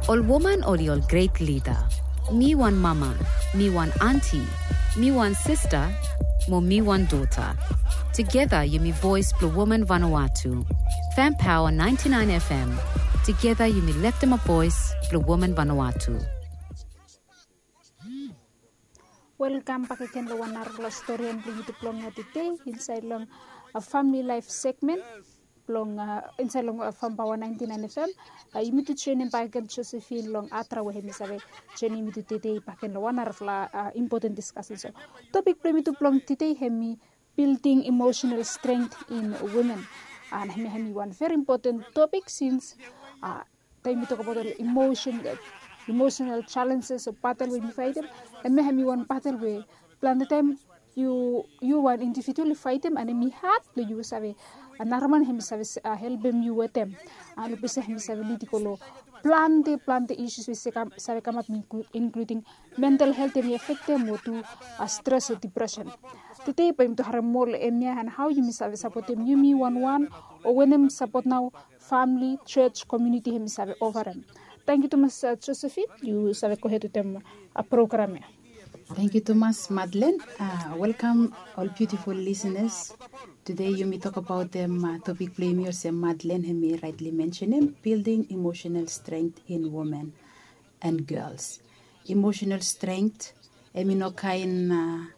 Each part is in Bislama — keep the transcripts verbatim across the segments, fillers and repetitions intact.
Ol woman oli ol gret lida. Mi wan mama, mi wan anti, mi wan sista, mo mi wan dota. Tugeta yumi voes blong woman Vanuatu. Fem Paoa naenti naen FM. Tugeta yumi leftemap voes blong woman Vanuatu. Welkam bak agen long wan narafala storian blong yumi tu blong tede insaed long a famili laef segmen blong insaed long Fem Paoa naenti naen FM. Yumi tu joenem bak agen Josephine long Atra we hemi save joenem yumi tu tede bak agen long wan narafala impoten diskasen. So topik blong yumi tu blong tede hemi building emotional strength in women. An hemia hemi wan veri impoten topik sins taem yumi tokbaot ol emotional challenges o batel we yumi faetem, hemia hemi wan batel we plante taem yu wan individual yu faetem an hemi had blong yu save nara man hemi save helpem yu wetem. An long ples ya hemi save lid i go long plante plante isus we save kamap, inkluding mental helt hemi afektem o tu stres o dipresen. Tede bae yumi tu harem moa long hemia an hao yumi save sapotem yumi wanwan o wanem sapot nao famili, jos, komuniti hemi save ofarem. Tangkiu tumas Josephine, yu save gohed wetem program ya. Tangkiu tumas Madlen. Welkam ol biutiful lisenas. Tede yumi tokbaotem topik blong yumi olsem Madlen hemi raetli mensenem, building emotional strength in women and girls. Emotional strength hemi no kaen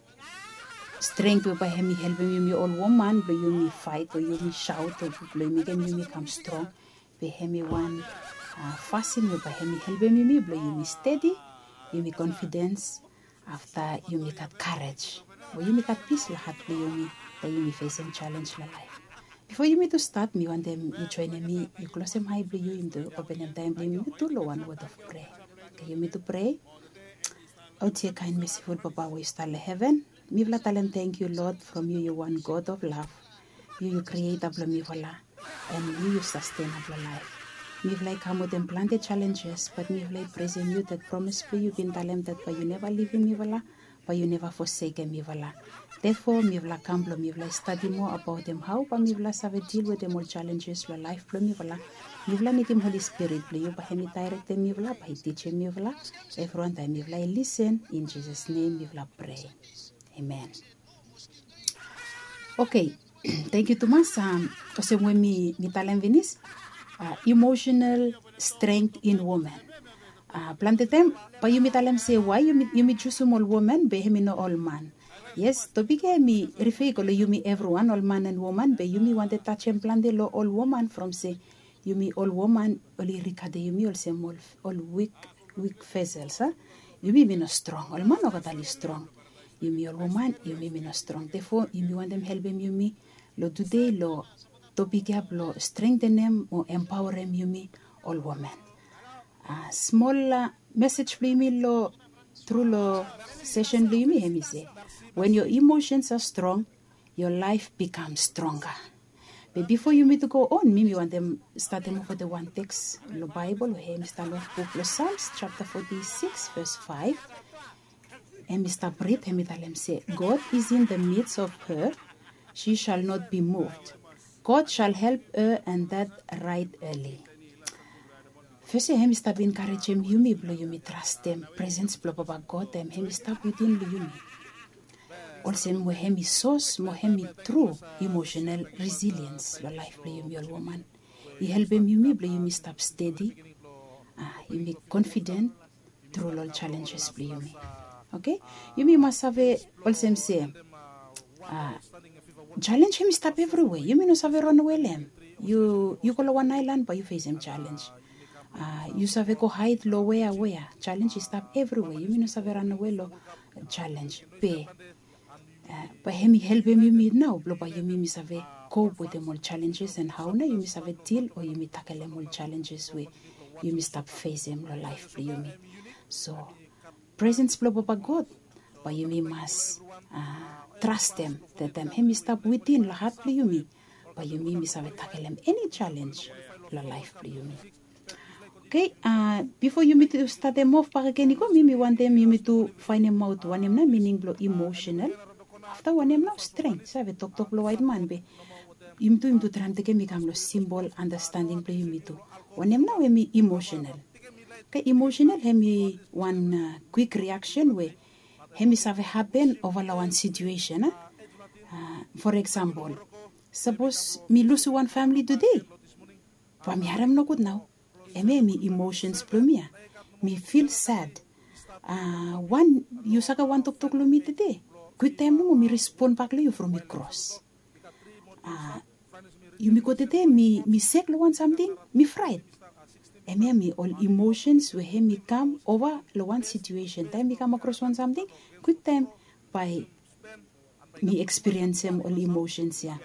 strength we bae hemi helpem yumi ol woman blong yumi faet o yumi saot o blong mekem yumi kam strong. Be hemi wan fasin we bae hemi helpem yumi blong yumi stedi, yumi konfidens, afta yumi gat karej o yumi gat pis long hat blong yumi taem yumi fesem jalens long laef. Bifo yumi tu stat, mi wantem yu joenem mi, yu klosem ae blong yu, yumi tu openem taem blong yumi tu long wan wod of prea. Oke, yumi tu prea. O yumi kaen mesiful Papa we yu stap long heven, mifala talem tangkiu Lord from yu yu wan God of love. Yu yu krieta blong mifala, an yu yu sastenap long laef. Mifala i kam wetem plante jalenjes, bat mifala i presem yu dat promes blong yu bin talem dat bae yu neva livim mifala, bae yu neva fosekem mifala. Therefore mifala kam blong mifala i stadi moa abaotem hao bae mifala save dil wetem ol jalenjes long laef blong mifala. Mifala nidim Holi Spirit blong yu bae hemi daerektem mifala, bae i tijim mifala evriwan taem mifala i lisen. In Jisas nem mifala prea. Amen. Oke, tangkiu tumas. Olsem we mi talem finis, emotional strength in women. Plante taem bae yumi talem se wae yumi jusum ol woman be hemi no ol man. Yes, topik ya hemi rifea i go long yumi evriwan, ol man an woman, be yumi wantem tajem plante long ol woman from se yumi ol woman oli rigadem yumi olsem ol wik, wik vesels, a? Yumi mi no strong, ol man nogat oli strong. Yumi ol woman yumi mi no strong. Therefore yumi wantem helpem yumi long tede long topik ya blong strengtenem o empaorem yumi ol woman. Smol mesej blong yumi long tru long sesen blong yumi hemi se, when your emotions are strong, your life becomes stronger. Be bifo yumi tu go on, mi mi wantem statem wetem wan teks long Baebol we hemi stap long buk blong Psalms japta forty-six ves five. Hemi stap rid, hemi talem se, God is in the midst of her, she shall not be moved. God shall help her, and that right early. Fes ya hemi stap enkarejem yumi blong yumi trastem presens blong Papa God, taem hemi stap wetem long yumi. Olsem we hemi sos mo hemi tru emotional resilience long laef blong yumi ol woman. I helpem yumi blong yumi stap stedi, yumi konfiden tru long ol jalenjes blong yumi. Oke, yumi mas save olsem se, jalens hemi stap evriwea. Yumi no save ranawe long hem. Yu go long wan aelan bae yu fesem jalens. Yu save go haed long wea wea. Jalens i stap evriwea, yumi no save ranawe long jalens. Be bae hemi helpem yumi nao blong bae yumi mi save kop wetem ol jalenjes, an hao nao yumi save dil o yumi takelem ol jalenjes we yumi stap fesem long laef blong yumi. So presens blong Papa God bae yumi mas trastem, taem hemi stap wetem long hat blong yumi, bae yumi mi save takelem eni jalens long laef blong yumi. Oke, bifo yumi tu statem of bakegen i go, mi mi wantem yumi tu faenemaot wanem nao mining blong emotional. Afta wanem nao strength, save toktok blong waetman, be yumi tu yumi tu traem tekem i kam long simpol andastending blong yumi tu. Wanem nao hemi emotional? Oke, emotional hemi wan kwik riaksen we hemi save hapen ova long wan situesen a. For eksempel, sapos mi lusim wan famili tude, bae mi harem nogud nao. Hemia hemi emosens blong mi ya. Mi fil sad. Wan yu save wan toktok long mi tude, kwiktaem nomo mi respon bak long yu from mi kros. Yumi go tude mi sek long wan samting, mi fraet. Hemia hemi ol emosens we hemi kam ova long wan situesen taem mi kam akros wan samting, kwiktaem bae mi ekspiriensem ol emosens ya.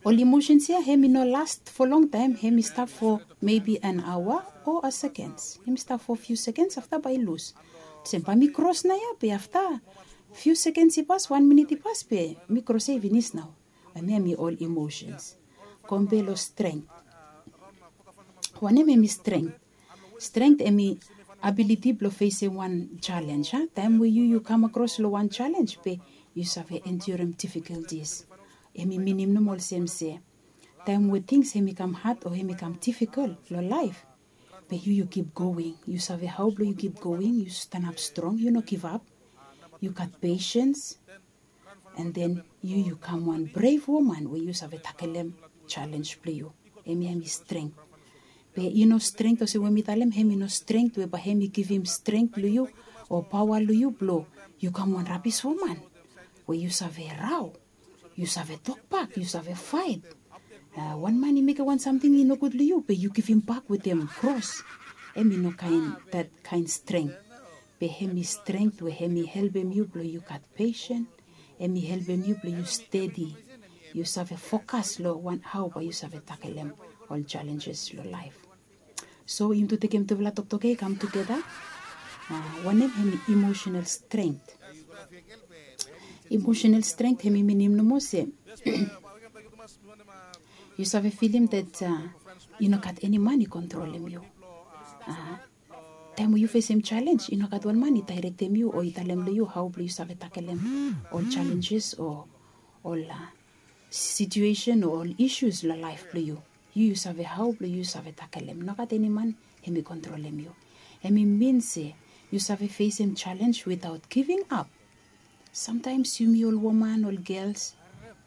Ol emosens ya hemi no las fo longtaem, hemi stap fo mebi an aoa o a sekens. Hemi stap fo fiu sekens afta bae i lus. Olsem bae mi kros nao ya be afta fiu sekens i pas, wan minit i pas be mi kros ya i finis nao. Hemia hemi ol emosens. Kompe long strength. Wanem hemi strength? Strength hemi abiliti blong fesem wan jalenj a. Taem we yu yu kam akros long wan jalenj be yu save endurim difikultis. Hemi minim nomo olsem se taem we tings hemi kam had o hemi kam difikol long laef, be yu yu kip going. Yu save hao blong yu kip going, yu stanap strong, yu no givap. Yu gat pesens. An den yu yu kam wan brev woman we yu save takelem jalenj blong yu. Hemia hemi strength. Be i no strength olsem we mi talem, hemi no strength we bae hemi givim strength long yu o paoa long yu blong yu kam wan rabis woman we yu save rao, yu save tokbak, yu save faet. Wan man i mekem wan samting i nogud long yu be yu givimbak wetem kros. Hemi no kaen dat kaen strength. Be hemi strength we hemi helpem yu blong yu gat pesen. Hemi helpem yu blong yu stedi. Yu save fokas long wan hao bae yu save takelem ol jalenjes long laef. So yumi tu tekem tufala toktok ya i kam tugeta. Wanem hemi emosenal strength? Emosenal strength hemi minim nomo se yu save filim dat i no gat eni man i kontrolem yu. Taem we yu fesem jalenj i no gat wan man i daerektem yu o i talem long yu hao blong yu save takelem ol jalenjes o ol situesen o ol isus long laef blong yu. Yu yu save hao blong yu save takelem. Nogat eni man hemi kontrolem yu. Hemi min se yu save fesem jalenj witaot giving ap. Samtaems yumi ol woman, ol gels,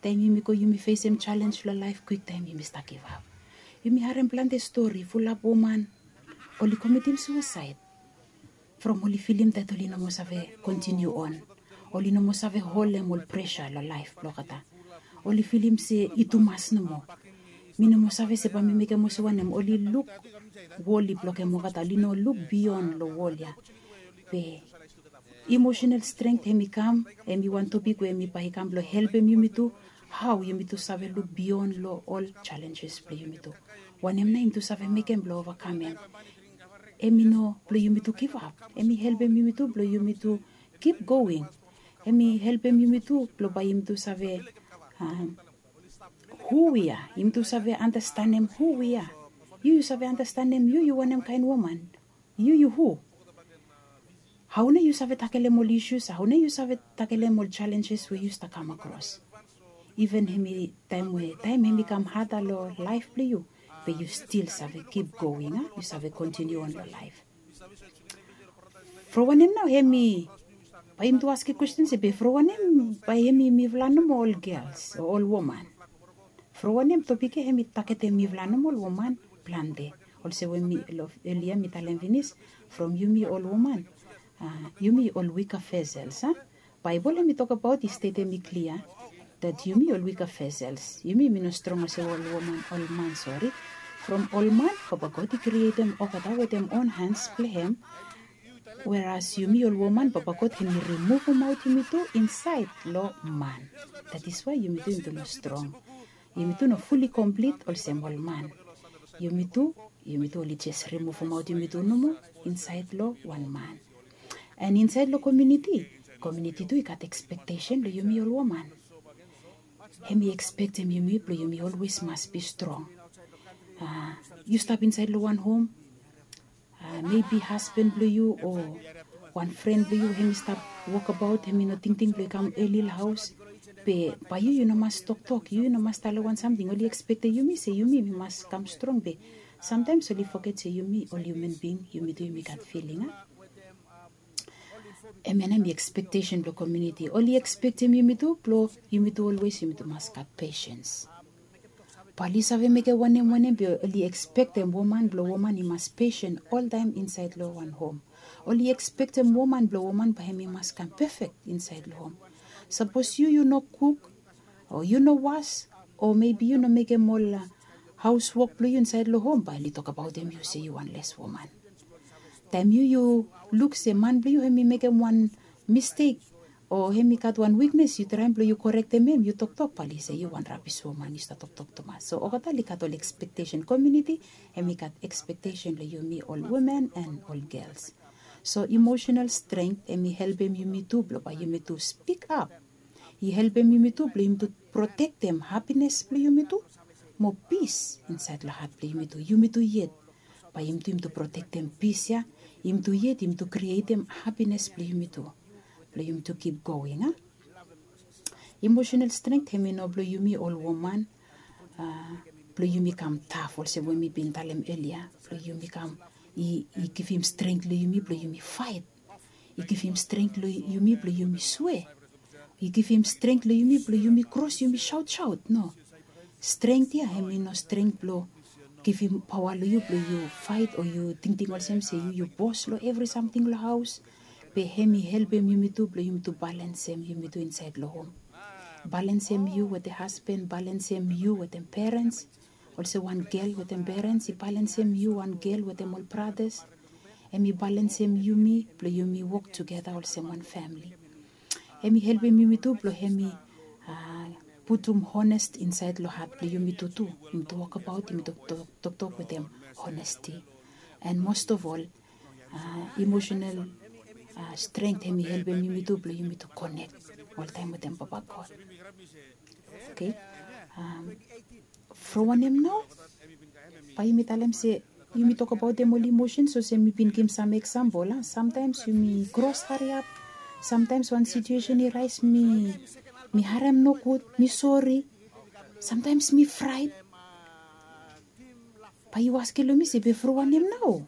taem yumi go yumi fesem jalenj long laef, kwiktaem yumi stap givap. Yumi harem plante stori fulap woman oli komitim suasaed from oli filim dat oli no moa save kontiniu on. Oli no moa save holem ol presa long laef blong olgeta. Oli filim se i tumas nomo. Mi no moa save se bae mi mekem olsem wanem. Oli luk wol i blokem olgeta, oli no luk bion long wol ya. Be emosenal strength hemi kam, hemi wan topik we hemi bae i kam blong helpem yumi tu hao yumi tu save luk bion long ol jalenjes blong yumi tu. Wanem nao yumi tu save mekem blong ovakamem? Hemi no blong yumi tu givap. Hemi helpem yumi tu blong yumi tu kip going. Hemi helpem yumi tu blong bae yumi tu save hu wi ya. Yumi tu save andastanem hu wi ya. Yu yu save andastanem yu yu wanem kaen woman. Yu yu hu? Hao nao yu save takelem ol isus? Hao nao yu save takelem ol jalenjes we yu stap kam akros? Iven hemi taem we taem hemi kam hada long laef blong yu, be yu stil save kip going a, yu save kontiniu on long laef. From wanem nao hemi, bae yumi tu askem kwestin se be from wanem bae hemi mifala nomo ol gels o ol woman? From wanem topik ya hemi tagetem mifala nomo ol woman plante? Olsem we mi long elia mi talem finis, from yumi ol woman, yumi ol wika vesels a. Baebol hemi tokbaot, i stetem i klia dat yumi ol wika vesels, yumi mi no strong olsem ol woman, ol man, sori. From ol man Papa God i krietem olgeta wetem on hans blong hem. Weras yumi ol woman Papa God hemi rimuvumaot yumi tu insaed long man. That is why yumi tu yumi tu no strong. Yumi tu no fuli komplit olsem ol man. Yumi tu yumi tu oli jes rimuvumaot yumi tu nomo insaed long wan man. An insaed long komuniti, komuniti tu i gat ekspektesen long yumi ol woman. Hemi ekspektem yumi blong yumi olwes mas bi strong. Yu stap insaed long wan hom, mebi hasban blong yu o wan fren blong yu hemi stap wokbaot, hemi no tingting blong i kam eli long haos. Be bae yu yu no mas toktok, yu yu no mas talem wan samting. Oli ekspektem yumi se yumi mi mas kam strong, be Samtaims oli foget se yumi ol hiuman bing, yumi tu yumi gat filing a. Hemia nao hemi ekspektesen blong komuniti. Oli ekspektem yumi tu blong yumi tu olwes yumi tu mas gat pesens. Bae oli save mekem wanem wanem be oli ekspektem woman blong woman i mas pesen oltaem insaed long wan hom. Oli ekspektem woman blong woman bae hemi mas kam pefek insaed long hom. Sapos yu yu no kuk, o yu no was, o mebi yu no mekem ol haos wok blong yu insaed long hom, bae oli tokbaotem yu se yu wan les woman. Taem yu yu luk se man blong yu hemi mekem wan mistek, o hemi gat wan wiknes, yu traem blong yu korektem hem, yu toktok, bae oli se yu wan rabis woman, yu stap toktok tumas. So olgeta oli gat ol ekspektesen. Komuniti hemi gat ekspektesen long yumi ol woman and ol gels. So emosenal strength hemi helpem yumi tu blong bae yumi tu spikap. I helpem yumi tu blong yumi tu protektem hapines blong yumi tu, mo pis insaed long hat blong yumi tu. Yumi tu yet, bae yumi tu yumi tu protektem pis ya. Yumi tu yet yumi tu krietem hapines blong yumi tu, blong yumi tu kip going a. Emosenal strength hemi no blong yumi ol woman, a, blong yumi kam taf olsem we mi bin talem elia, blong yumi kam, i givim strength long yumi blong yumi faet. I givim strength long yumi blong yumi swe. I givim strength long yumi blong yumi kros yumi saotsaot. No. Strength ya hemi no strength blong givim paoa long yu blong yu faet o yu tingting olsem se yu yu bos long evri samting long haos. Be hemi helpem yumi tu blong yumi tu balensem yumi tu insaed long hom. Balensem yu wetem hasban, balensem yu wetem perens. Olsem wan gel wetem perens i balensem yu wan gel wetem ol bratas. Hemi balensem yumi blong yumi wok tugeta olsem wan famili. Hemi helpem yumi tu blong hemi, a, putum honest insaed long hat blong yumi tu tu. Yumi tu wokbaot, yumi tu toktok wetem honesti. And most of all, a, emosenal, a, strength hemi helpem yumi tu blong yumi tu konek oltaem wetem Papa God. Oke. From wanem nao? Bae yumi talem se yumi tokbaotem ol emosens olsem mi bin givim sam eksampol a. Samtaems yumi kros hariap. Samtaems wan situesen i raes mi, mi harem nogud, mi sori. Samtaems mi fraet. Bae yu askem long mi se be from wanem nao?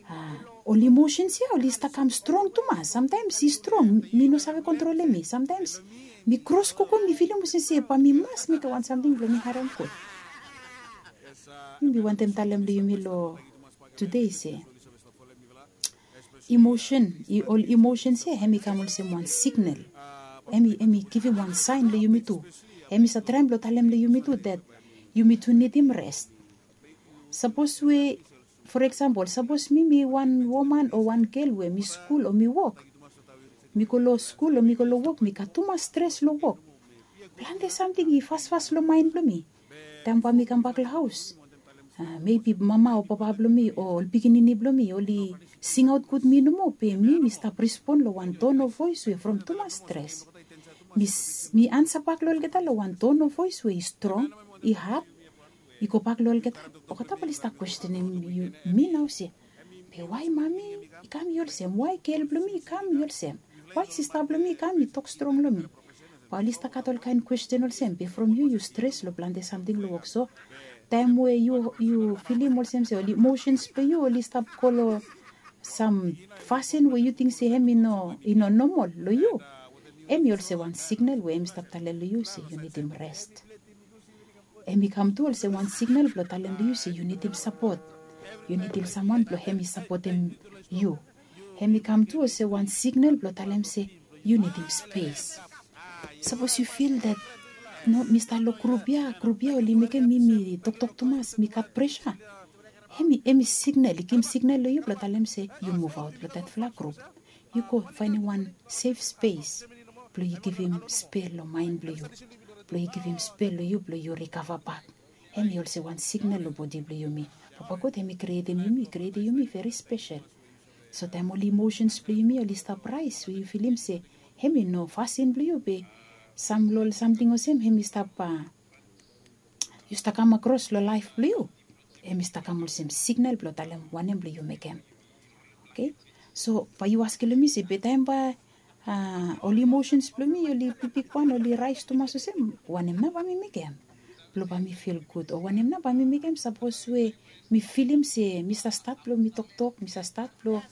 A, ol emosens ya oli stap kam strong tumas. Samtaems i strong, mi no save kontrolem mi. Samtaems mi kros gogo mi filim olsem se bae mi mas mekem wan samting blong mi harem gud. Mi wantem talem long yumi long tude se emosen, ol emosens ya hemi kam olsem wan siknel. Hemi, hemi givim wan saen long yumi tu. Hemi save traem blong talem long yumi tu that yumi tu nidim res. Sapos we, for example, sapos mi mi wan woman o wan gel we mi skul o mi wok. Mi go long skul o mi go long wok, mi gat tumas stres long wok. Plante samting i fasfas long maen blong mi. Taem bae mi kambak long haos, a, mebi mama o papa blong mi o ol pikinini blong mi oli singaot gud mi nomo, be mi mi stap respon long wan ton of voes we from tumas stres. Mi, mi ansa bak long olgeta long wan ton of voes we i strong, i had. I gobak long olgeta, olgeta bae oli stap kwestenem mi nao se, be wae mami i kam i olsem? Wae gel blong mi i kam i olsem? Wae sista blong mi i kam i tok strong long mi? Bae oli stap gat olkaen kwesten olsem, be from yu yu stres long plante samting long wok. So taem we yu, yu filim olsem se ol emosens blong yu oli stap go long sam fasin we yu ting se hemi no, i no nomol long yu, hemi olsem wan siknel we hemi stap talem long yu se yu nidim res. Hemi kam tu olsem wan siknel blong talem long yu se yu nidim sapot. Yu nidim samwan blong hemi sapotem yu. Hemi kam tu olsem wan siknel blong talem se yu nidim spes. Sapos yu fil that, no, mi stap long grup ya, grup ya oli mekem mi, mi toktok tumas, mi gat presa. Hemi, hemi siknel, i givim siknel long yu blong talem se yu muvaot long datfala grup. Yu go faenem wan sef spes blong yu givim spel long maen blong yu, blong yu givim spel long yu blong yu rikava bak. Hemi olsem wan siknel long bodi blong yumi. Papa God hemi krietem yumi, i krietem yumi veri spesel. So taem ol emosens blong yumi oli stap raes we yu filim se hemi no fasin blong yu, be sam long ol samting olsem hemi stap, a, yu stap kam akros long laef blong yu, hemi stap kam olsem siknel blong talem wanem blong yu mekem. Oke. So bae yu askem long mi se be taem bae, a, ol emosens blong mi oli bigbigwan, oli raes tumas olsem, wanem nao bae mi mekem? blong bae mi fil gud, o wanem nao bae mi mekem sapos we mi filim se mi save stat blong mi toktok, mi save stat blong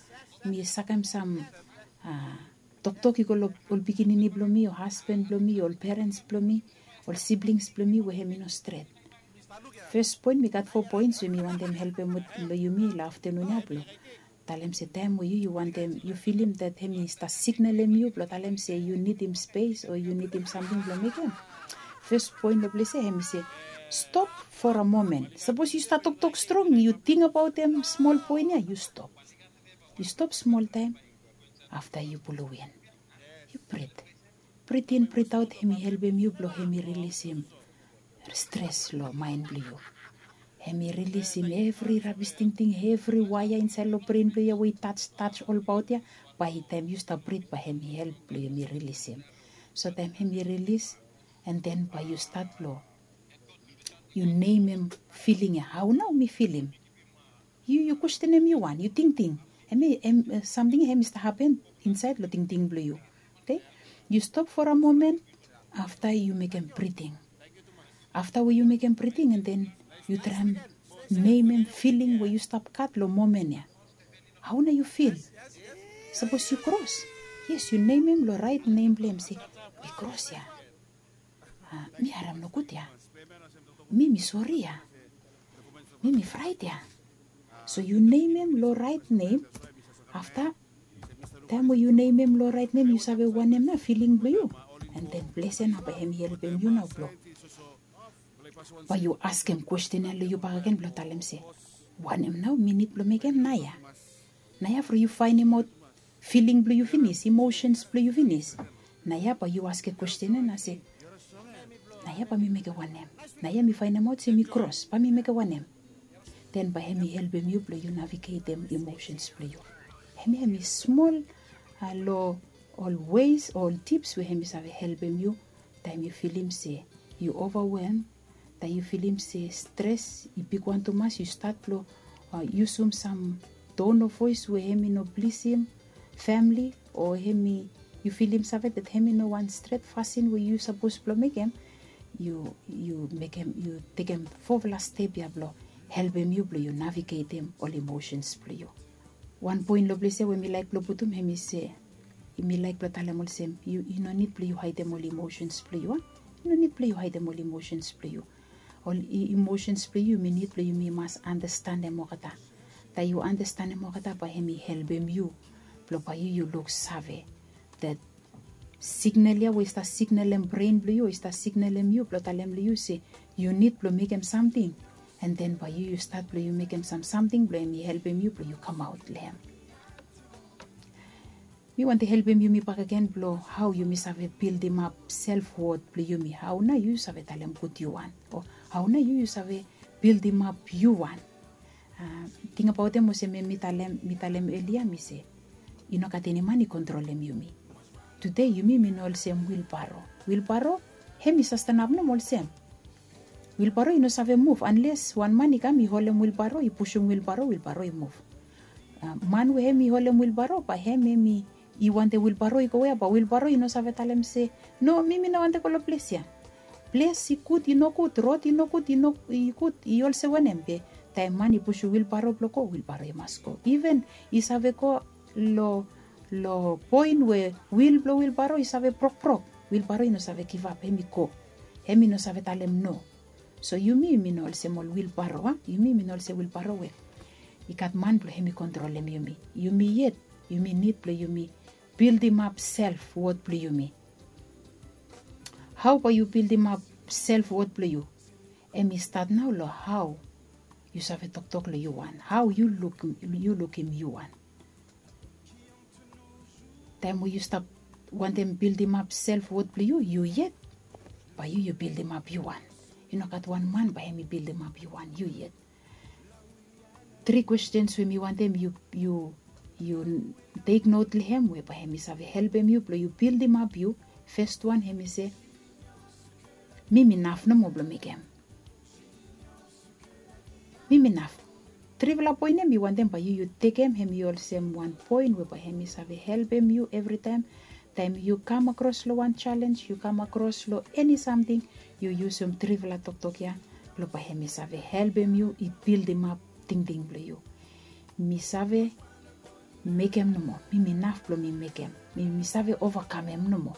mi sakem sam toktok i go long ol pikinini blong mi, o hasban blong mi, ol perens blong mi, ol siblings blong mi we hem i no stret. Fes poen, mi gat fo poens we mi wantem helpem long yumi long aftanun ya blong talem se taem we yu yu wantem, yu filim dat hem i stat signalem yu blong talem se yu nidim spes o yu nidim samting blong mekem. Fes poen long ples ya hem i se stop for a moment. Sapos yu stat toktok strong, yu tingbaotem smol poen ya, yu stop. Yu stop smol taem, afta yu pulum win. Yu brit. Brit in, brit aot, hem i helpem yu blong hem i rilisim stres long maen blong yu. Hem i rilisim evri rabis tingting, evri waea insaed long bren blong yu ya we i taj taj olbaot ya, bae taem yu stap brit bae hem i help blong hem i rilisim. So taem hem i rilis, an den bae yu stat long yu nemem filing ya, hao nao mi filim. Yu yu kwestenem yu wan, yu tingting. Hem i hem samting hem i stap hapen insaed long tingting blong yu. Oke? Yu stop for a moment, afta yu mekem briting. Afta we yu mekem briting, an den yu traem nemem filing we yu stap gat long momen ya. Hao nao yu fil? Sapos yu kros, yes, yu nemem long raet nem blong hem se mi kros ya. Mi harem nogud ya. Mi mi sori ya. Mi mi fraet ya. So yu nemem long raet nem. Afta taem we yu nemem long raet nem, yu save wanem nao filing blong yu. An den ples ya nao bae hem i helpem yu nao blong bae yu askem kwesten ya long yu bakegen blong talem se wanem nao mi nid blong mekem naoia. Naoia from yu faenemaot filing blong yu finis, imosens blong yu finis, naoia bae yu askem kwesten ya nao se naoia bae mi mekem wanem? Naoia mi faenemaot se mi kros, bae mi mekem wanem? Den bae hem i helpem yu blong yu navigetem imosens blong yu. Hem ya hem i smol long ol weis o ol tips we hem i save helpem yu taem yu filim se yu ovawelm, taem yu filim se stres i bigwan tumas, yu stat blong yusum sam ton of voes we hem i no blisim famili, o hem i, yu filim save dat hem i no wan stret fasin we yu sapos blong mekem, yu yu mekem, yu tekem fofala step ya blong helpem yu blong yu navigetem ol imosens blong yu. Wan poen long ples ya we mi laek blong putum hem i se, mi laek blong talem olsem yu i no nid blong yu haedem ol imosens blong yu a. I no nid blong yu haedem ol imosens blong yu. Ol imosens blong yu yumi nid blong yumi mas andastanem olgeta. Taem yu andastanem olgeta bae hem i helpem yu blong bae yu yu luksave dat signal ya we i stap signalem bren blong yu, i stap signalem yu blong talem long yu se yu nid blong mekem samting. An den bae yu yu stat blong yu mekem sam samting blong hem i helpem yu blong yu kamaot long hem. Mi wantem helpem yumi bakegen blong hao yumi save bildimap selfwot blong yumi. Hao nao yu save talem gud yu wan, o hao nao yu yu save bildimap yu wan. Tingbaotem olsem mi talem, mi talem elia mi se i no gat eni man i kontrolem yumi. Tude yumi mi no olsem wilbaro. Wilbaro hem i sastanap nomo olsem. Wilbaro i no save muv anles wan man i kam i holem wilbaro, i pusum wilbaro, wilbaro i muv. Man we hem i holem wilbaro bae hem hem i wantem wilbaro i go wea, bae wilbaro i no save talem se no, mi mi no wantem go long ples ya. Ples i gud i nogud, rod i nogud, i gud i olsem wanem, be taem man i pusum wilbaro blong go, wilbaro i mas go. Iven i save go long long poen we wil blong wilbaro i save brokbrok, wilbaro i no save givap, hem i go. Hem i no save talem no. So yumi yumi no olsem ol wilbaro a, yumi yumi no olsem wilbaro we i gat man blong hem i kontrolem yumi. Yumi yet yumi nid blong yumi bildimap selfwot blong yumi. Hao bae yu bildimap selfwot blong yu? Hem i stat nao long hao yu save toktok long yu wan, hao yu lukim yu wan. Taem we yu stap wantem bildimap selfwot blong yu, yu yet bae yu yu bildimap yu wan. I no gat wan man bae hem i bildimap yu wan, yu yet. Tri kwestens we mi wantem yu yu yu teknot long hem we bae hem i save helpem yu blong yu bildimap yu. Fes wan hem i se mi mi naf nomo blong mekem. Mi mi naf. Trifala poen ya mi wantem bae yu yu tekem hem i olsem wan poen we bae hem i save helpem yu evritaem Taem yu kam akros long wan jalenj, yu kam akros long eni samting, yu yusum trifala toktok ya blong bae hem i save helpem yu i bildimap tingting blong yu. Mi save mekem nomo. Mi mi naf blong mi mekem. Mi mi save ovakamem nomo.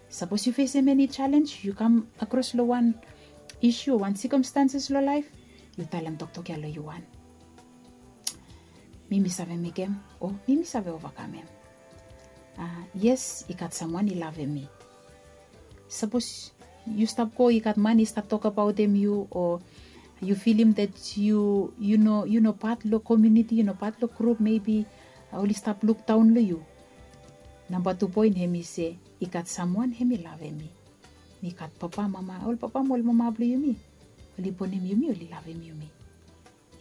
Sapos yu fesem eni jalenj, yu kam akros long wan isu o wan sikomstanses long laef, yu talem toktok ya long yu wan. Mi mi save mekem o mi mi save ovakamem. Yes, i gat samwan i lavem mi. Sapos yu stap go i gat man i stap tokabaotem yu o yu filim dat yu yu no yu no pat long komuniti, yu no pat long grup, mebi oli stap lukdaon long yu. Namba tu poen hem i se i gat samwan hem i lavem mi. Mi gat papa mama, ol papa mo ol mama blong yumi, oli bonem yumi, oli lavem yumi.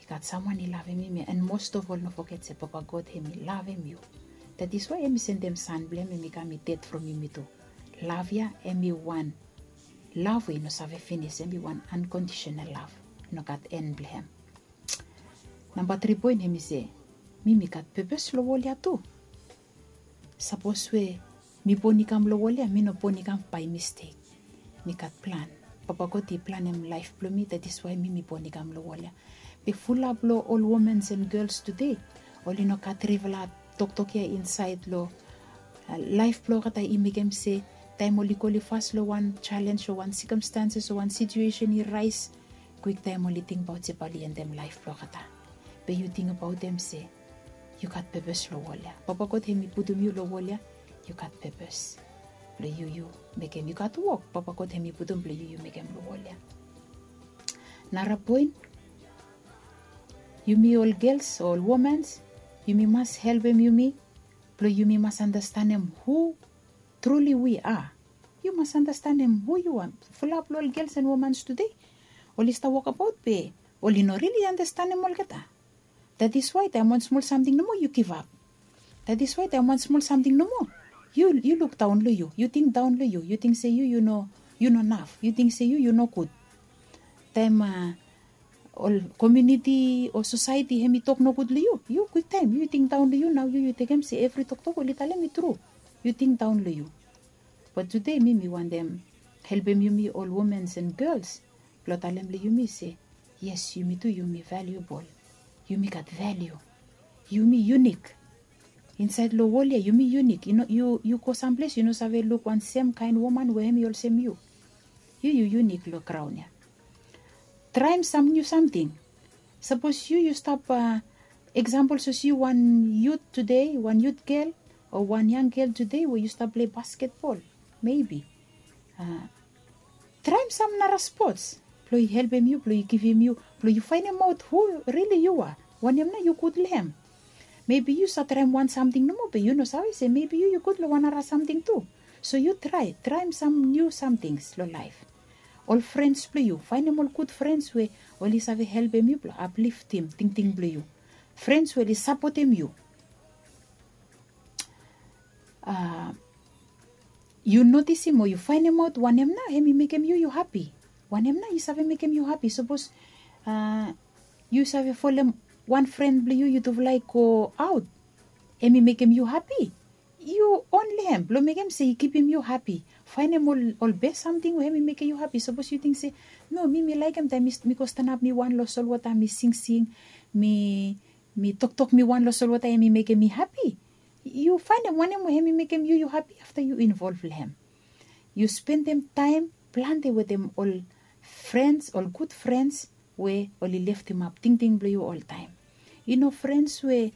I gat samwan i lavem yumi, and most of all no foget se Papa God hem i lavem yu. That is why hem i sendem San blong hem hem i kam i ded from yumi tu. Lav ya hem i wan lav we i no save finis, hem i wan unconditional love, i no gat en blong hem. Namba tri poen hem i se, mi mi gat pepes long wol ya tu. Sapos we mi bon i kam long wol ya, mi no bon i kam bae mistek. Mi gat plan. Papa God i planem laef blong mi, that is why mi mi bon i kam long wol ya. Be fulap long ol womans and gels tude oli no gat trifala toktok ya insaed long laef blong olgeta i mekem se taem oli go oli fas long wan jalenj o wan sikomstanses o wan situesen i raes, kwiktaem oli tingbaot se bae oli endem laef blong olgeta. Be yu tingbaotem se yu gat pepes long wol ya. Papa God hem i putum yu long wol ya, yu gat pepes blong yu yu mekem. Yu gat wok Papa God hem i putum blong yu yu mekem long wol ya. Nara poen, yumi ol gels o ol womans, yumi mas helpem yumi blong yumi mas andastanem hu truly we are. Yu mas andastanem hu yu are. Fulap long ol gels and womans tude oli stap wokabaot be oli no rili andastanem olgeta. That is why taem wan smol samting nomo yu givap. That is why taem wan smol samting nomo yu yu lukdaon long yu, yu tingdaon long yu, yu ting se yu yu no yu no naf, yu ting se yu yu nogud. Taem ol komuniti o sosaeti hem i tok nogud long yu, yu kwiktaem yu tingdaon long yu, nao yu yu tekem se evri toktok oli talem i tru. Yu tingdaon long yu. Bat tude mi mi wantem helpem yumi ol womans and gels blong talem long yumi se, yes, yumi tu yumi valuebol. Yumi gat valiu. Yumi yunik. Insaed long wol ya yumi yunik. Yu no yu yu go samples yu no save luk wan semkaen woman we hem i olsem yu. Yu yu yunik long graon ya. Traem sam niu samting. Sapos yu yu stap eksampol sapos yu wan yut tude, wan yut gel o wan yang gel tude we yu stap plei basketbol, mebi traem sam nara spots blong i helpem yu, blong i givim yu, blong yu faenemaot hu rili yu are. Wanem nao yu gud long hem? Mebi yu save traem wan samting nomo be yu no save se mebi yu yu gud long wan nara samting tu. So yu trae traem sam niu samtings long laef. Ol frens blong yu, faenem ol gud frens we oli save helpem yu blong apliftim tingting blong yu. Frens we oli sapotem yu. Yu notisim o yu faenemaot wanem nao hem i mekem yu yu hapi. Wanem nao i save mekem yu hapi? Sapos yu save folem wan fren blong yu yutufala i go aot, hem i mekem yu hapi. Yu on long hem blong mekem se i kipim yu hapi. Faenem ol bes samting we hem i mekem yu hapi. Sapos yu ting se, no, mi mi laekem taem mi go stanap mi wan long solwota mi singsing, mi mi toktok mi wan long solwota hem i mekem mi hapi. Yu faenem wanem we hem i mekem yu yu hapi afta yu involv long hem. Yu spendem taem plante wetem ol frens, ol gud frens we oli leftemap tingting blong yu oltaem. I no frens we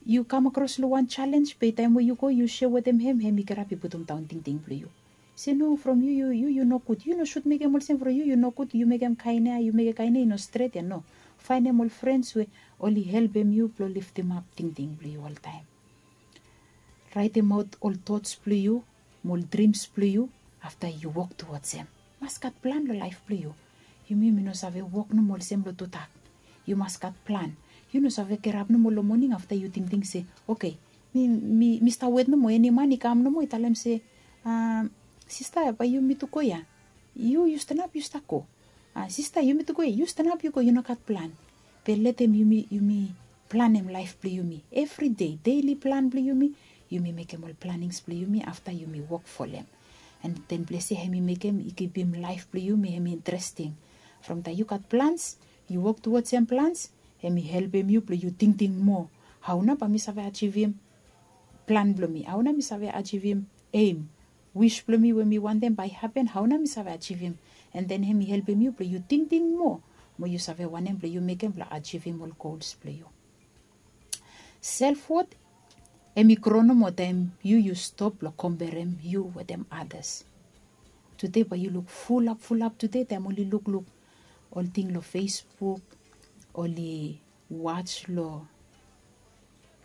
yu kam akros long wan jalenj be taem we yu go yu seo wetem hem, hem i kirap i putumdaon tingting blong yu. Se no, from yu yu yu yu nogud. Yu no sud mekem olsem from yu yu nogud, yu mekem kaen ya, yu mekem kaen ya i no stret ya, no. Faenem ol frens we oli helpem yu blong leftemap tingting blong yu oltaem. Raetemaot ol tots blong yu mo ol drims blong yu. Afta yu wok tuwods hem. Mas gat plan long laef blong yu. Yumi yumi no save wok nomo olsem long tudak. Yu mas gat plan. Yu no save kirap nomo long moning afta yu tingting se, oke, mi mi mi stap wet nomo eni man i kam nomo i talem se, sista, bae yumi tu go ya. Yu yu stanap yu stap go. Sista, yumi tu go ya, yu stanap yu go, yu no gat plan. Be letem yumi yumi planem laef blong yumi evri dei, deili plan blong yumi. Yumi mekem ol planings blong yumi afta yumi wok folem. And then blese hem i mekem i kipim laef blong yumi hem i interesting. From taem yu gat plans, yu wok tuwodsem plans, hem i helpem yu blong yu tingting moa. Hao nao bae mi save ajivim plan blong mi? Hao nao mi save ajivim eim, wis blong mi we mi wantem bae i hapen? Hao nao mi save ajivim? And then hem i helpem yu blong yu tingting moa mo yu save wanem blong yu mekem blong ajivim ol gols blong yu. Self wot hem i gro nomo taem yu yu stop long komperem yu wetem adas. Tude bae yu luk fulap fulap tude taem oli lukluk ol ting long Facebook, oli waj long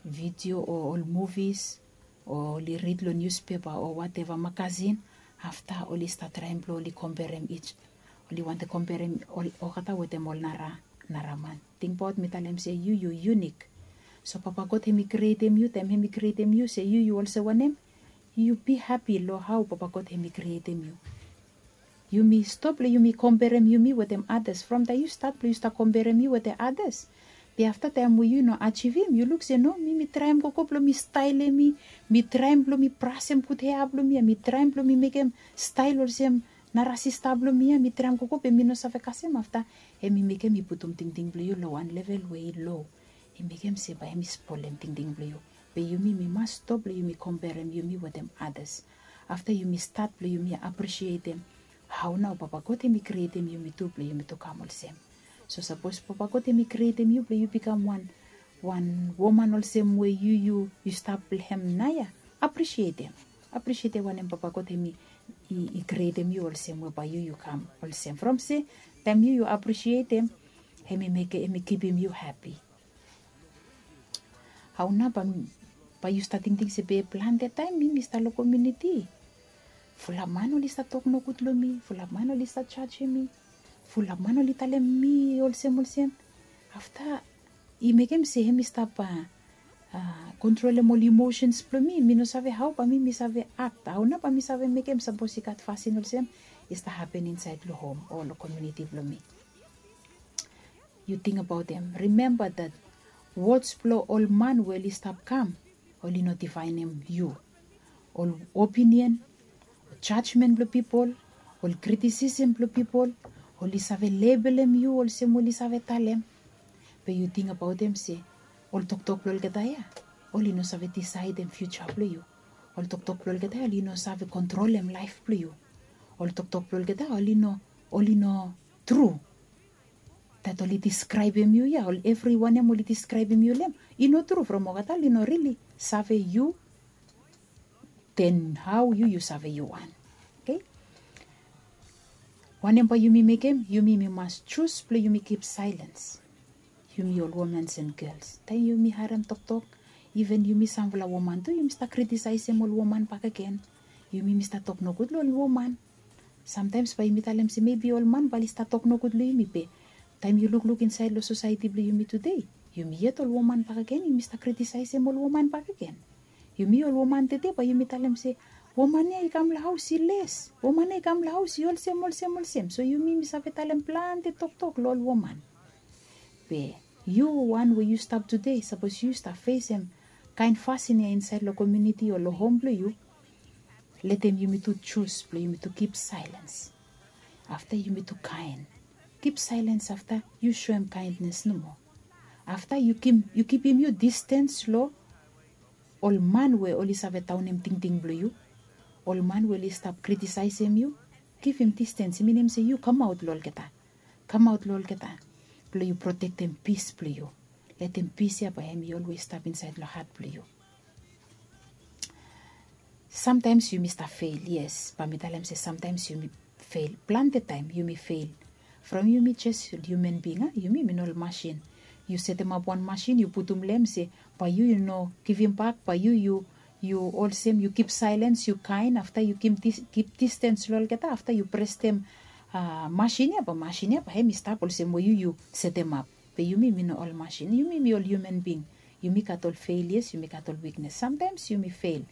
video o ol muvis, o oli rid long niuspepa o wateva magasin. Afta oli stat traem blong oli komperem ij, oli wantem komperem olgeta wetem ol nara nara man. Tingbaot mi talem se yu yu yunik. So Papa God hem i krietem yu taem hem i krietem yu se yu yu olsem wanem, yu bi hapi long hao Papa God hem i krietem yu. Yumi stop blong yumi komperem yumi wetem adas. From taem yu stat blong yu stap komperem yu wetem adas, be afta taem we yu no ajivim, yu luk se no, mi mi traem gogo blong mi staelem mi, mi traem blong mi brasem gud hea blong mi, mi traem blong mi mekem stael olsem nara sista blong mi ya, mi traem gogo be mi no save kasem. Afta hem i mekem i putum tingting blong yu long wan level we i lo. I mekem se bae hem i spolem tingting blong yu. Be yumi mi mas stop blong yumi komperem yumi wetem adas. Afta yumi stat blong yumi aprisietem hao nao Papa God hem i krietem yumi tu blong yumi tu kam olsem. So sapos Papa God hem i krietem yu blong yu bikam wan wan woman olsem we yu yu yu stap blong hem nao ya, aprisietem. Aprisietem wanem Papa God hem i i krietem yu olsem we bae yu yu kam olsem. From se taem yu yu aprisietem, hem i mekem hem i kipim yu hapi. Hao nao bae yu stat tingting se be plante taem mi mi stap long komuniti, fulap man oli stat tok nogud long mi, fulap man oli stat jajem mi, fulap man oli talem mi olsem olsem. Afta i mekem se hem i stap kontrolem ol imosens blong mi. Mi no save hao bae mi mi save ak, hao nao bae mi save mekem sapos i gat fasin olsem i stap hapen insaed long hom o long komuniti blong mi. Yu tingbaot hem. Rimemba dat wods blong ol man we oli stap kam, oli no difaenem yu. Ol opinion, jajmen blong pipol, ol kritisisem blong pipol, oli save lebelem yu olsem oli save talem. Be yu tingbaot hem se ol toktok blong olgeta ya oli no save disaedem fiuja blong yu. Ol toktok blong olgeta ya oli no save kontrolem laef blong yu. Ol toktok blong olgeta ya oli no oli no tru. Dat oli diskraebem yu ya, ol evri wanem oli diskraebem yu long hem, i no tru. From olgeta oli no rili save yu, den hao yu yu save yu wan? Okei. Wanem bae yumi mekem? Yumi mi mas jus blong yumi kip saelens. Yumi ol womans and gels, taem yumi harem toktok, iven yumi samfala woman tu yumi stap kritisaesem ol woman bakegen. Yumi mi stap tok nogud long ol woman. Samtaems bae yumi talem se mebi ol man bae oli stap tok nogud long yumi, be taem yu lukluk insaed long sosaeti blong yumi tude, yumi yet ol woman bakegen yumi stap kritisaesem ol woman bakegen. Yumi ol woman tude bae yumi talem se woman ya i kam long haos i les, woman ya i kam long haos i olsem olsem olsem. So yumi mi save talem plante toktok long ol woman. Be yu wan we yu stap tude, sapos yu stap fesem kaen fasin ya insaed long komuniti o long hom blong yu, letem yumi tu jus blong yumi tu kip saelens. Afta yumi tu kaen. Kip saelens afta yu soem kaendnes nomo. Afta yu kipim yu distens long ol man we oli save daonem tingting blong yu, ol man we oli stap kritisaesem yu. Givim distens i minim se yu kamaot long olgeta. Kamaot long olgeta blong yu protektem pis blong yu. Letem pis ya bae hem i olwes stap insaed long hat blong yu. Samtaems yumi stap fel, yes, bae mi talem se samtaems yumi fel. Plante taem yumi fel. From yumi jes hiuman bing, a, yumi mi no ol masin. Yu setemap wan masin yu putum long hem se bae yu yu no givimbak, bae yu yu yu olsem yu kip saelens, yu kaen, afta yu kip distens long olgeta, afta yu prestem masin ya, bae masin ya bae hem i stap olsem we yu yu setemap. Be yumi mi no ol masin, yumi mi ol hiuman bing. Yumi gat ol felias, yumi gat ol wiknes. Samtaems yumi fel.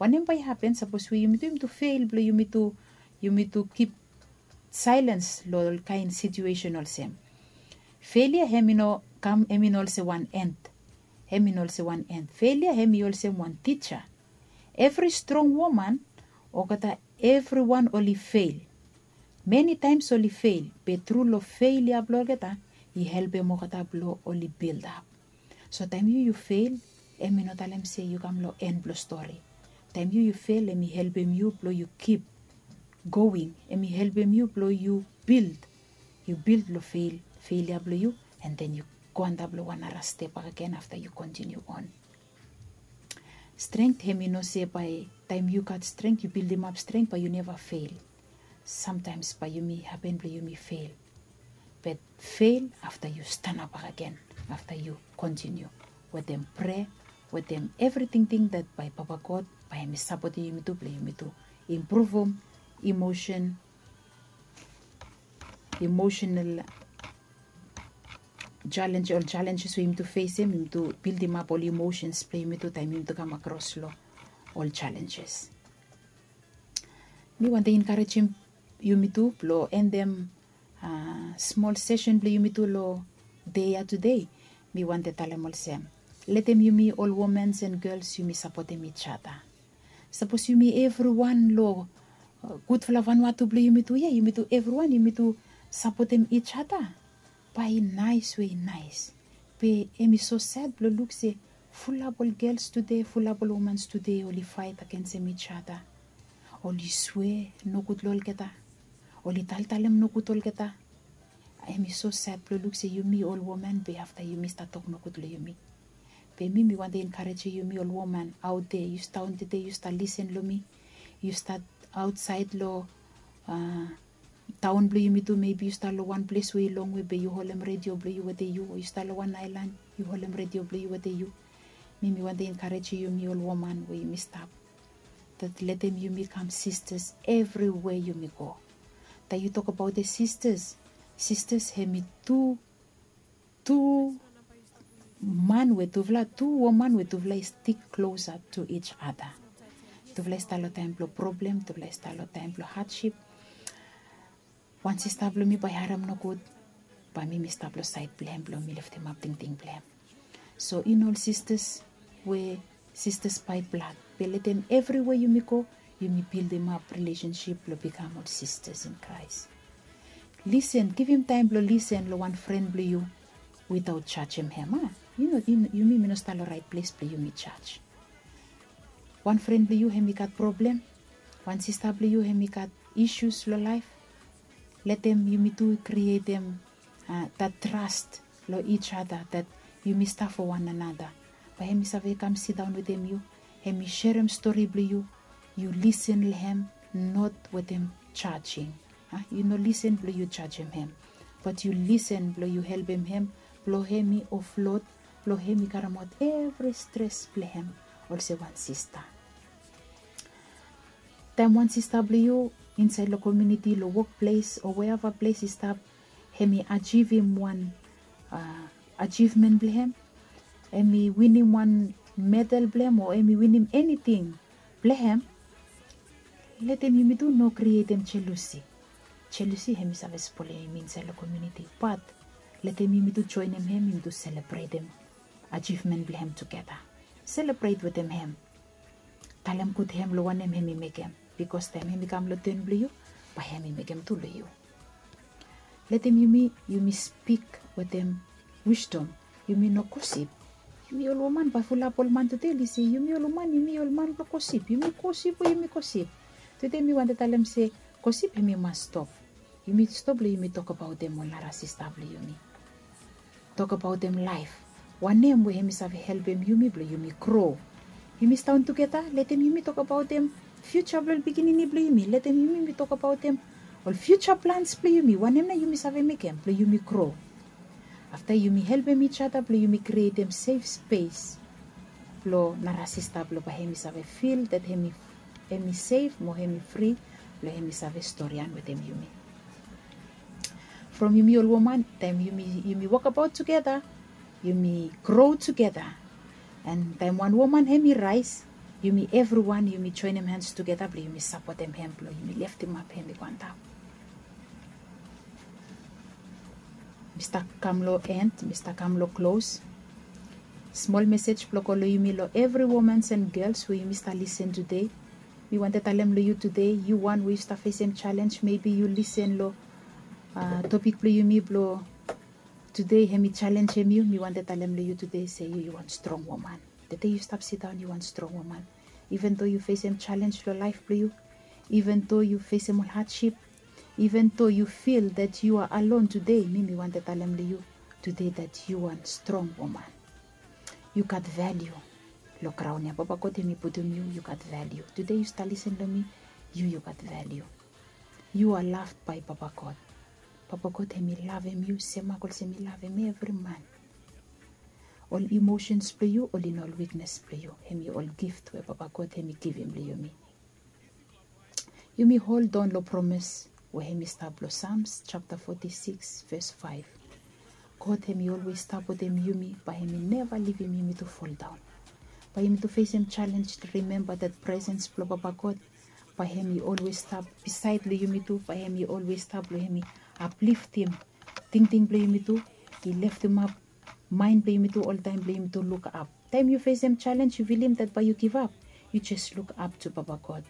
Wanem bae i hapen sapos we yumi tu yumi tu fel blong yumi tu yumi tu kip saelens long ol kaen situesen olsem? Felia hem i no kam hem i no olsem wan end. Hem i no olsem wan end. Felia hem i olsem wan tija. Evri strong woman, olgeta evriwan oli fel. Many times oli fel, be tru long fel ya blong olgeta i helpem olgeta blong oli build up. So taem yu yu fel, hemi no talem se yu kam long en blong stori. Taem yu yu fel, hemi helpem yu blong yu kip going, hemi helpem yu blong yu build. Yu build long fel, fel ya blong yu, and then yu go antap long wan nara step bakegen afta yu continue on. Strength hemi no se bae taem yu gat strength, yu buildimap strength bae yu neva fel. Sometimes bae yumi hapen blong yumi fel. Be fel afta yu stanap bakegen, afta yu continue wetem prea, wetem evriting ting dat bae Papa God bae hemi sapotem yumitu blong yumitu impruvum emotion, emotional challenge, ol challenges we yumitu fesem, yumitu buildimap ol emotions blong yumitu taem yumitu kam akros long ol challenges. Mi wantem enkarejem yumitu blong endem smol sesen blong yumitu long dei ya tede. Mi wantem talem olsem, letem yumi ol womans and gels yumi sapotem each other. Sapos yumi evriwan long gudfala vanua tu blong yumitu ya, yumitu evriwan yumitu sapotem each other, bae i naes we i naes. Be hemi so sad blong luk se fulap ol gels tude, fulap ol womans tude oli faet agensem each other. Oli swea nogud long olgeta. Oli taltalem nogud olgeta. Hemi so sad blong luk se yumi ol woman be afta yumi stat tok nogud long yumi. Be mi mi wantem enkarejem yumi ol woman aot dea, yu stat daon tede, yu stat lisen long mi. Yu stat aotsaed long taon blong yumitu, mebi yu stat long wan ples we i longwe be yu holem redio blong yu wetem yu, o yu stat long wan aelan yu holem redio blong yu wetem yu. Mi mi wantem enkarejem yumi ol woman we yumi stap, dat letem yumi kam sistas evriwea yumi go. Taem yu tokbaot sistas, sistas hemi tu, tu man we tufala, tu woman we tufala i stik klosa tu each other. Tufala i stap long taem blong problem, tufala i stap long taem blong hadship. Wan sista blong mi bae i harem nogud, bae mi mi stap long saed blong hem blong mi leftemap tingting blong hem. So i no ol sistas we sistas bae blad, be letem evriwea yumi go yumi bildimap rilesensip blong bikam ol sistas in Kraes. Lisen, givim taem blong lisen long wan fren blong yu witaot jajem hem, a? Yu no, yumi mi no stap long raet ples blong yumi jaj. Wan fren blong yu hemi gat problem, wan sista blong yu hemi gat isus long laef. Letem yumitu krietem dat tras long each other, dat yumi stap fo wan anata. Bae hemi save kam sidaon wetem yu, hemi serem stori blong yu, yu lisen long hem, not wetem jajing. Yu no lisen blong yu jajem hem, bat yu lisen blong yu helpem hem blong hemi oflod, blong hemi karemaot evri stres blong hem olsem wan sista. Taem wan sista blong yu insaed long komuniti, long wokples o weeva ples i stap, hemi ajivim wan ajivmen blong hem, hemi winim wan medal blong hem o hemi winim eniting blong hem, letem yumitu no krietem jelusi. Jelusi hemi save spolem yumi insaed long komuniti, bat letem yumitu joenem hem, yumitu selebretem ajivmen blong hem tugeta. Selebret wetem hem. Talem gud hem long wanem hemi mekem, bikos taem hemi kam long ten blong yu, bae hemi mekem tu long yu. Letem yumi, yumi spik wetem wisdom. Yumi no gosip. Yumi ol woman, bae fulap ol man tude oli se yumi ol woman yumi ol man blong gosip. Yumi gosip we yumi gosip. Tude mi wantem talem se gosip hemi mas stop. Yumi stop long yumi tokbaotem ol nara sista blong yumi. Tokbaotem laef, wanem we hemi save helpem yumi blong yumi gro. Yumi sidaon tugeta, letem yumi tokbaotem fiuja blong ol pikinini blong yumi. Letem yumi mi tokbaotem ol fiuja plans blong yumi, wanem nao yumi save mekem blong yumi gro. Afta yumi helpem each other blong yumi krietem sef spes blong nara sista blong bae hemi save fil dat hemi, hemi sef mo hemi fri blong hemi save storian wetem yumi. From yumi ol woman, taem yumi, yumi wokbaot tugeta, yumi gro tugeta. And taem wan woman hemi raes, yumi evriwan yumi joenem hans tugeta blong yumi sapotem hem, blong yumi leftemap hem i go antap. Mi stap kam long en, mi stap kam long klos. Smol mesej blong go long yumi long evri womans and gels we yumi stap lisen tude. Mi wantem talem long yu tude, yu wan we yu stap fesem jalenj, mebi yu lisen long topik blong yumi blong tude, hem i jalenjem yu. Mi wantem talem long yu tude se yu yu wan strong woman. Tede yu stap sidaon yu wan strong woman. Even though yu fesem jalenj long laef blong yu, even though yu fesem ol hadship, even though yu fil that yu a alon tude, mi mi wantem talem long yu tude that yu wan strong woman. Yu gat valiu long graon ya. Papa God hem i putum yu, yu gat valiu. Tude yu stap lisen long mi, yu yu gat valiu. Yu a loved by Papa God. Papa God hem i lavem yu semak olsem i lavem evri man. Ol emosens blong yu oli no ol wiknes blong yu, hem i ol gift we Papa God hem i givim long yumi. Yumi holdaon long promes we hem i stap long Psalms japta foti sikis ves faef. God hem i olwes stap wetem yumi, bae hem i neva livim yumi tu foldaon. Bae yumi tu fesem jalenj, rimemba that presens blong Papa God, bae hem i olwes stap bisaed long yumi tu, bae hem i olwes stap long hem i apliftim tingting blong yumi tu, i leftemap maen blong yumi tu oltaem blong yumi tu lukap. Taem yu fesem jalenj, yu filim that bae yu givap, yu jes lukap tu Papa God.